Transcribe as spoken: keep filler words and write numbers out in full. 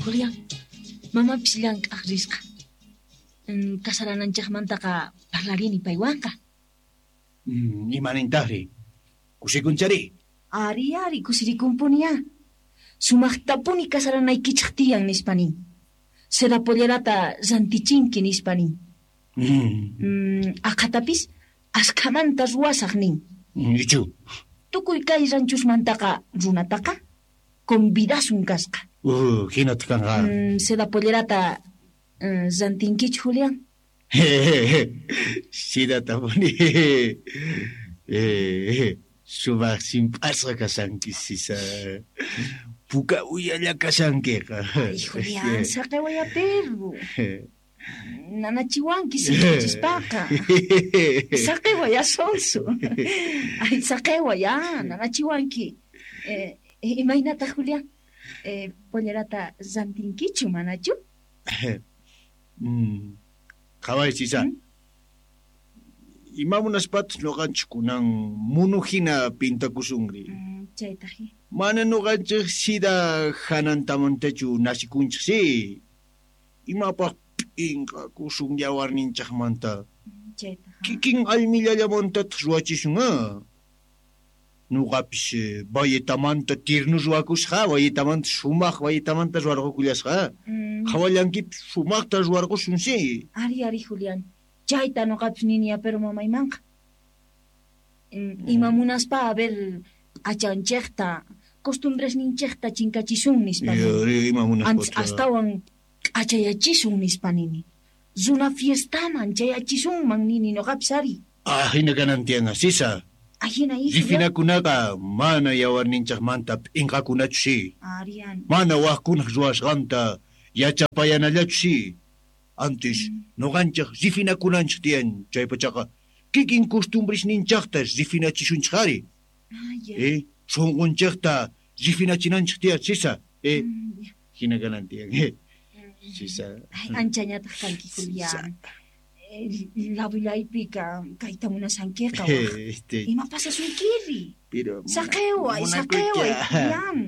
Julián, mamapis llank'aq risqa. Mm, Casarananchejmantaqa parlarini paywanqa. Mm, imanintajri? Kusikunchari? Ari, ari, kusirikunpuniya. Sumaqtapuni casaranaykichej tiyan nispa nin. Seda pollerata rantichinki nispa nin. Mm, Mm, aqhatapis askhamanta ruwasaq nin. Ichu. Tukuy kay ranchusmantaqa runataqa convidasun kasqa. Uh, hinataq kanqa. Mm, seda pollerata mm, rantinkichu, Julián? Sidatapuni. Eh, sumaq simp'asqa kashanki, Sisa. Puka uyalla kashankiqa. Ay, Julián, saqewaya perro. Nanachiwanki sich'ichispaqa. Saqewaya sonso. Ay, saqewaya, nanachiwanki. Eh, imaynata, Julián? Eh, pollerata rantinkichu, manachu? Mm. Qhaway, Sisa. Mm? Ima munaspatas ñuqanchik kunan munu hina pintakusunri. Mm, chaytaq. Mana ñuqanchik sida hanantamantachu nasikunchik si. Imapaq p'inqakusun yawarninchikmanta. Chaytaq. Kikin almillallamantataq ruwachisun ah. Ñuqapis eh, bayetamanta tirnu ruwakusqa, bayetamanta sumaq bayetamanta ruwarqukullasqa. Mm. Qhawallankipis sumaqta ruwarqusun si. Ari, ari, Julián. Chayta ñuqapis nini pero mamaymanqa. Mm, Ima munaspa a ver p'achanchejta, costumbresninchejta chinkachisun nispa nini. Ari, ima Antes munaspata. astawan k'achayachisun nispa nini. Runa fiestaman chayachisunman nini ñuqapis ari. Ah, hina kanan tiyan, Sisa. Ahina i, Julián. Rifinakunaqa mana yawarninchikmanta p'inqakunachu si. Arian. Mana wajkunaq ruwasqanta yachapayanallachu si. Antes ñuqanchik rifinakunanchik tiyan chaypachaqa kikin costumbresninchaqta rifinachisunchik ari. Ah, ya. Eh, sunqunchikta rifinachinanchik tiyan, Sisa. Eh, Mm, ya. hina kanan tiyan. Eh, Sisa. Ay, anchañataq kanki, Julián. Eh, Ladullaypika kayta munasankiqa waj. Este, Ima pasasunkiri? pero Saqeway, saqeway, munakuycha. Julián.